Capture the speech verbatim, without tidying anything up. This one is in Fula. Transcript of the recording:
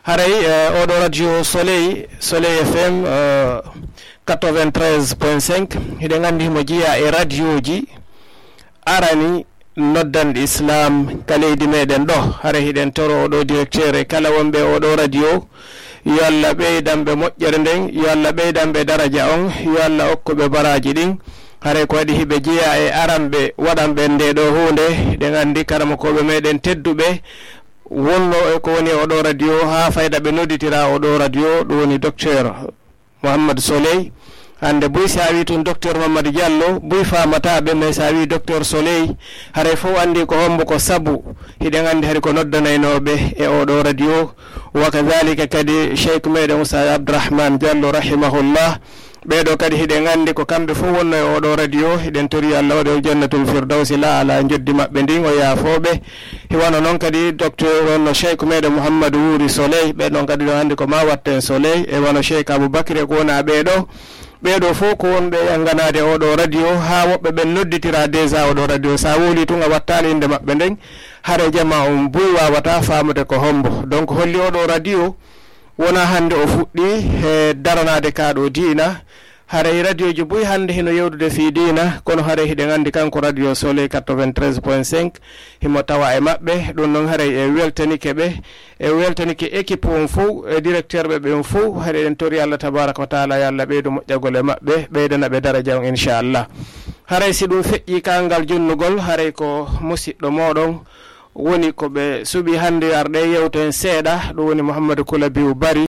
Haray, eh, oɗo radio Soleil, Soleil F M, eh, quatre-vingt-treize point cinq, hiɗen anndi himo jeyaa e radioji arani noddanɗi Islam ka leydi meɗen ɗo. Haray hiɗen toro oɗo directeur e kala wonɓe oɗo radio, yo Allah ɓeydan ɓe moƴƴere nden, yo Allah ɓeydan ɓe daraja on, yo Allah okku ɓe baraji ɗin. Haray ko waɗi hiɓe jeyaa e aranɓe waɗanɓe nde ɗo huunde, hiɗen anndi karamokooɓe meɗen tedduɓe, wonno e ko woni e oɗo radio haa fayda ɓe nodditira oɗo radio, ɗum woni docteur Mouhammad Soleil. Hannde buy si a wi tun docteur Mamadou Diallo, buy faamata ɓe, mais si a wi docteur Soleil, haray fof anndi ko hombo ko sabu hiɗen anndi hari ko noddanaynooɓe e oɗo radio. Wa kadhalika kadi Cheikh meɗen Oustaz Abdourahmane Diallo rahimahullah. Ɓeeɗo kadi hiɗen anndi ko kamɓe fof wonno e oɗo radio. Hiɗen tori Allah waɗa jannatul firdawsi la ala njoddi maɓɓe ndin, o yaafooɓe. Hiwano noon kadi docteur wonno Cheikh meɗen Mouhamadou Wuri Soleil. Ɓe noon kadi ɗon anndi ko ma watten Soleil. E wano Cheikh Aboubacry e ko wona ɓeeɗo. Ɓeeɗo fof ko wonɓe e nganaade oɗo radio, haa woɓɓe ɓen nodditira déjà oɗo radio. Sa wowli tun a wattaali innde maɓɓe nden, hare jama on buy wawata faamude ko hombo. Donc holli oɗo radio wona hannde o fuɗɗi e daranaade ka ɗo diina. Haray radioji buy hannde hino yewdude fii diina, kono haray hiɗen anndi kanko radio Soleil quatre-vingt-treize point cinq himo tawa e maɓɓe. Ɗum noon haray e weltanike ɓe, e weltanike équipe on fof, e directeur ɓe ɓen fof. Haray eɗen tori Allah tabaraka wa taala yo Allah ɓeydu moƴƴagol e maɓɓe, ɓeydana ɓe daraja on inchallah. Haray si ɗum feƴƴi ka ngal jonnugol, haray ko musiɗɗo moɗon woni ko ɓe suɓi hannde yo ar ɗe yewten seeɗa, ɗum woni Mouhamadou Koulabiou Bari.